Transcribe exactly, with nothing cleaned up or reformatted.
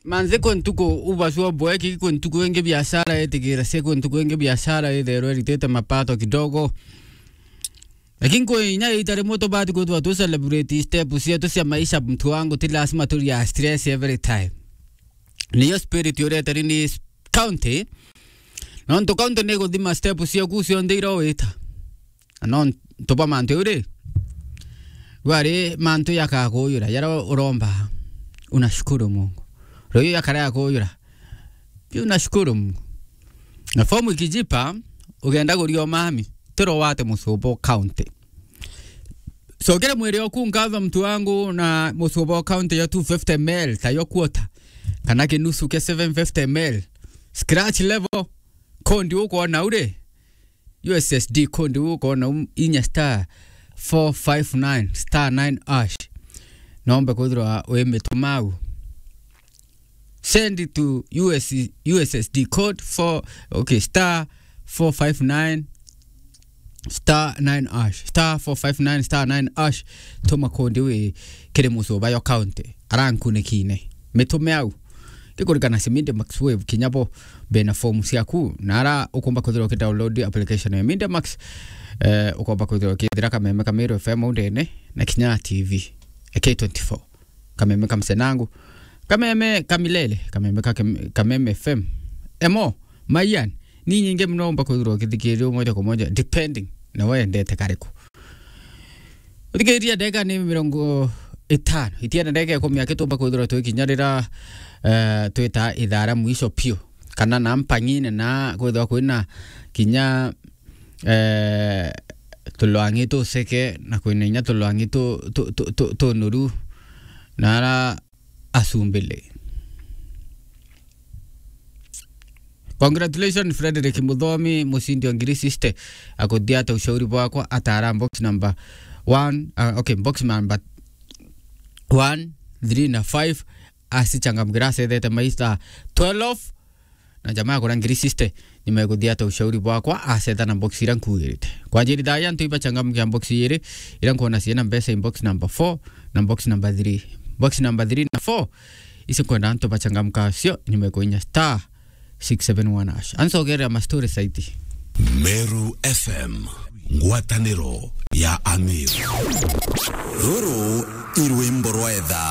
Manze, kwi ntuku ubacua bweki, kwi ntuku ingi biashara itigira cia, kwi ntuku ingi biashara itherwe iritite mapato kidogo. Lakini kwi inya ita rimwe tubati kwithirwa tu celebrate step cietu cia maisha, mtu wangu, ti lazima turia stress every time. Niyo spirit ureteri ni county. Nontu county ni guthima step ciaku cionthe iria wita. Na nontu bwa mantu jau ri, gwari mantu yakakuyura, yara uromba, unashukuru Mungu. Ruyu yakara yakuyura, pia unashukuru Mungu. Na fomu ikijipa, ugenda guria umami, tiro wate mucumba o county. Cokere mwiri oku nkatho, mtu wangu, na mucumba o county ya two fifty ml, tayo quarter, kana kinusu kia seven fifty ml. Scratch level, kondi ukwona uri, U S S D code u ukoona u inya star four five nine star nine hash. Nombe kwithirwa wi mitumau. Send it to U S, U S S D code for, okay, star four five nine star nine hash. Star four five nine star nine hash. Tuma code wi kiri mucumba yo county. Arankunikine. Mitume au. Kikurikana si Media Max Wave kinya bo bena form ciaku. Na ara ukomba kwithirwa ukidownload application ya Media Max, eh, ukomba kwithirwa ukithira kameme ka Meru F M au ndene na kinya T V ya K twenty-four. Kameme ka Msenangu. Kameme ka Milele. Kameme ka Kem-, Kameme F M. Emo, Mayan. Ni nyingi muno umba kwithirwa ukithikiria moja kwa moja, depending na we endete kariku. Uthikiria, ndagika ni mirongo itano. Itiana ndagika ikumi akitumba kwithirwa twi kinya rira, eh, twita ithaa ria mwisho piu. Kana na mpang'ine na kwithirwa kwina kinya, eh, tulwang'i tuseke na kwina inya tulwang'i tu-, tu-, tu-, tu-, tunuru na ara asumbile. Congratulations, Frederick Muthomi, mushindi wa ngiri sixty. Akuthia ata ushauri bwakwa, atara box number one, uh, okay, box number one, three na five, asichangamkira, acethete maista twelve, na jamaa akura ngiri sixty, nimekuthia ata ushauri bwakwa, acetha na box ira nkuirite. Kwa njiri thaya, antu ibachangamkia box iri, ira nkuona ciina mbeca in box number four na box number three. Box number three na four, Isi nkwenda antu bachangamka cio, nimekuinya star six seven one hash. Ancogerera mastori saiti. Meru F M, ngwataniro ya Amir. Ruru irwimbo rwa etha.